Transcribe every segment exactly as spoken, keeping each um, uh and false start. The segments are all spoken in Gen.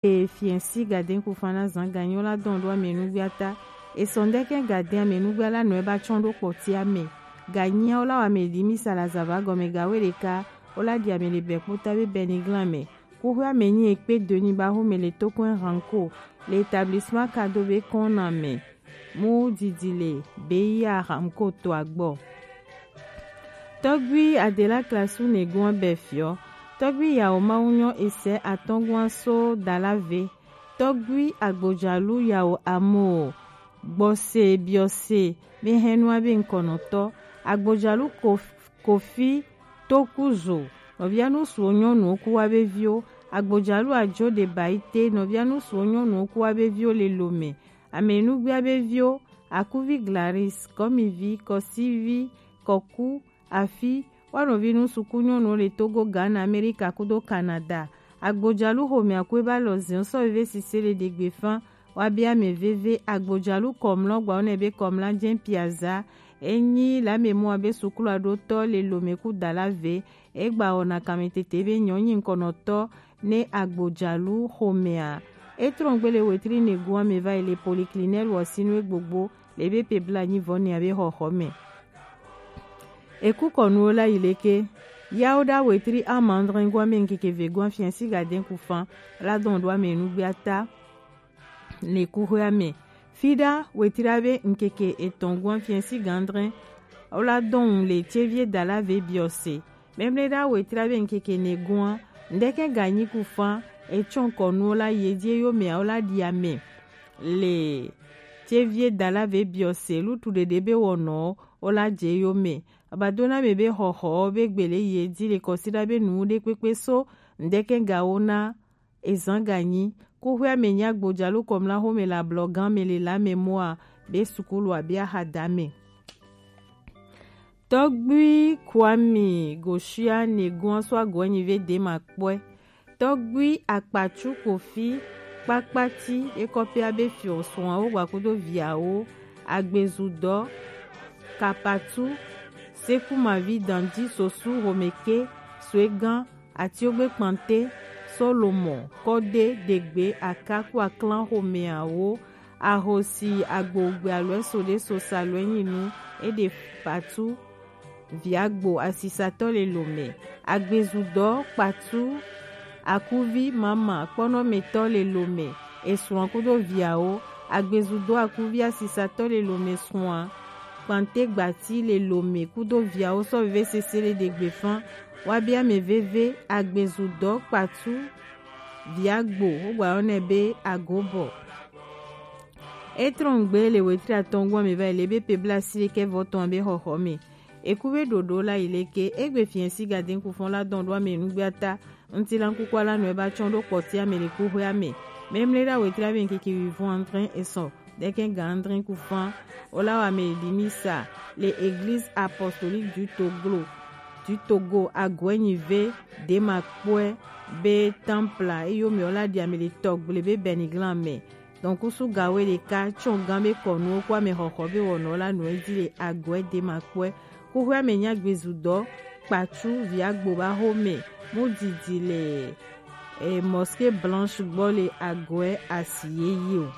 E fiɛnsi gaden kufan na zan ganyi o la dɔn ɖo amɛnugbia ta. Esɔn ɖɛkɛ gaden amɛnugbia la nɔ e ba tsɔn ɖo kpɔti amɛ. Ganyi o la wa amɛ ɖi mi sa la zava gɔmɛ gawe ɖeka o la ɖi amɛ le bɛ kpota be bɛniglan mɛ. Kuxwe amɛ nyi ekpe doni ba xo mɛ le tokɔn ranko le établissement kado be kɔn na mɛ. Mu didi le be ya ranko to agbɔ. Tɔgbi Adela Klasu Negoa bɛ fiɔ. Tɔgbi Yawo Mawunyɔ esɛ atɔngua so dala ve. Tɔgbi Agbojalu Yawo Amo. Gbɔse biɔse mi hɛnua be nkɔnɔtɔ. Agbojalu Kof-, Kofi Tokuzo. Nɔvia nusuo nyɔnuwo ku wa be viwo. Agbojalu Ajo de Baite. Nɔvia nusuo nyɔnuwo ku wa be viwo le lome. Amɛnugbia be viwo. Akuvi Glaris, Kɔmivi, Kɔsivi, Kɔku, Afi, wa nɔvi nu suku nyɔnuwo le Togo, Ghana, Amerika kudo Canada. Agbojalu xomɛ akwe ba lɔ ziɔn sɔ veve sise le degbe fan. Wa bia mɛ veve Agbojalu kɔmlɔ gba wo nɛ be kɔmla jɛn piaza. Enyi la mɛ mɔ abe sukulu aɖo tɔ le lome ku dala ve. Egba wɔna kanmɛ tete be nyɔ nyi nkɔnɔtɔ ne Agbojalu xomɛa. Etrɔngbe le wetri negoa mɛ va yi le poliklinɛl wɔsinu egbogbo le be pe bla nyi vɔ ne abe xɔxɔ mɛ. Eku kɔnuwo la yi leke. Yawo ɖa wetri amandrɛngoa mɛ nkeke vegoa fiɛnsi gaden kufan la dɔn ɖo amɛnugbia ta. Le kuxwea mɛ. Fiɖa wetri abe nkeke etɔn guan fiɛnsi gandrɛn. Wo la dɔn le tievie dala ve biɔse. Mɛmlɛ ɖa wetri abe nkeke ne guan. Ndɛkɛ ganyi kufan etsɔn kɔnuwo la yedie yo mɛ wo la ɖi amɛ. Le tievie dala ve biɔse lutu ɖeɖe be wɔnɔ wo la dze yo mɛ. Abadona mɛ be xɔxɔ be gbele yedi le kɔsiɖa be nu ɖe kpekpe so. Ndɛkɛ gawo na ezan ganyi. Kuxwea mɛ nyi Agbojalu kɔmla xomɛ le ablɔgan mɛ le la mɛ moa be sukulu abi axada mɛ. Tɔgbui Kwami Goshia negoa so agoɛ nyi ve de ma kpɔɛ. Tɔgbui Akpatsu Kofi kpakpati ekɔpia be fiɔ sɔawo gbakudo viawo agbezudɔ kapatu sekumavi dandi sosu homeke soegan Atiogbe Kpante, Solomon, Kɔde, Degbe, Akaku, Aklan, Xomɛawo, Ahosi, Agbogbe, Aloe, Sode, Sosa, Aloe, Nyinu, Ede, Patu, Viagbo, Asisatɔ le Lome, Agbezudɔ, Kpatu, Akuvi, Mama, Kpɔnɔmetɔ le Lome, Esrɔ̃ kudo viawo, Agbezudɔ, Akuvi, Asisatɔ le Lome, Srɔ̃a, Kpante Gbati le Lome kudo viawo sɔ veve sese le ɖegbe fan. Wa bia mɛ veve Agbezudɔ Kpatu Viagbo wogba yɔ nɛ be Agobɔ. Etrɔngbe le wetri atɔngua mɛ va yi le be pe bla si ɖekɛ vɔ tɔn be xɔxɔ mɛ. Eku be ɖoɖo la yi leke egbe fiɛ si gaden kufɔn la dɔn ɖo amɛ nugbe ata. Ŋutilankukua la nɔ eba tsɔn ɖo kpɔtia mɛ le kuxwea mɛ. Mɛmlɛ ɖa wetri abe ŋkeke wivɔn adre esɔ ɖekɛ ga adre kufan. Wola wa mɛ ɖi misa le Église Apostolique du Togo, du Togo agoɛ nyi ve de ma kpɔɛ be templa eyo mɛ wola ɖi amɛ le tɔgble be Bɛniglan mɛ. Donc kusu gawe ɖeka tsɔn gan be kɔnuwo kɔ amɛ xɔxɔ be wɔnɔ la nɔ edzi le agoɛ de ma kpɔɛ. Kuxwea mɛ nyi Agbezudɔ Kpatsu Viagbo ba xomɛ mu didi le eh, Mosquée Blanche gbɔ le agoɛ asi yeye o.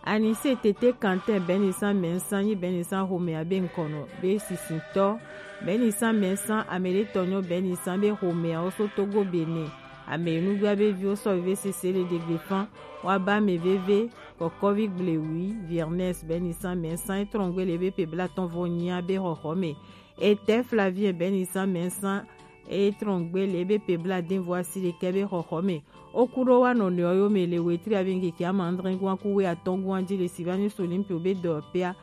Anise Tete Kantin Bɛnisan Mɛnsan nyi Bɛnisan xomɛa be ŋkɔnɔ be sisintɔ. Bɛnisan Mɛnsan amɛɖetɔ nyɔ Bɛnisan be xomɛawo so Togo Benin. Amɛ nugba be viwo sɔ veve sese le ɖegbe fan. Wa ba mɛ veve Kɔkɔvi Gblewi Viernes Bɛnisan Mɛnsan etrɔngbe le be pe blatɔn vɔ nyia be xɔxɔ mɛ. Etɛ Flavien Bɛnisan Mɛnsan etrɔngbe le be pe bladen vɔ asi ɖekɛ be xɔxɔ mɛ. Oku ɖo wa nɔnɔewo yo mɛ le wetri abe ŋkeke ama adre gua ku we atɔn gua ji le Sylvanus Olympio be dɔpea.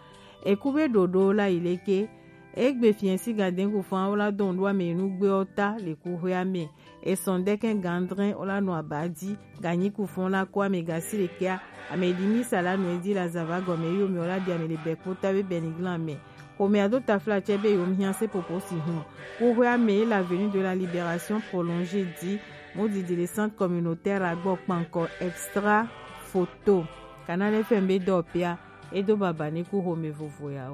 Eku be ɖoɖo la yi leke. Egbe fiɛ si gaden kufan wola dɔn ɖo amɛ nugbe ɔ ta le kuxwea mɛ. Esɔn ɖekɛ gandrɛn wola nɔ aba ji ganyi kufɔn la ko amɛ gasi ɖekɛa. Amɛ ɖi misa la nɔ edi la zava gɔmɛ yo mɛ wola ɖi amɛ le bɛ kpota be Bɛniglan mɛ. Xomɛ ado tafla tsɛ be yom hiã se popo si hun. Kuxwea mɛ la Avenue de la Libération prolongée di mu didi le centre communautaire agbɔ kpankɔ extra photo. Canal F M be dɔ pia edo baba ne ku xomɛ vovo ya.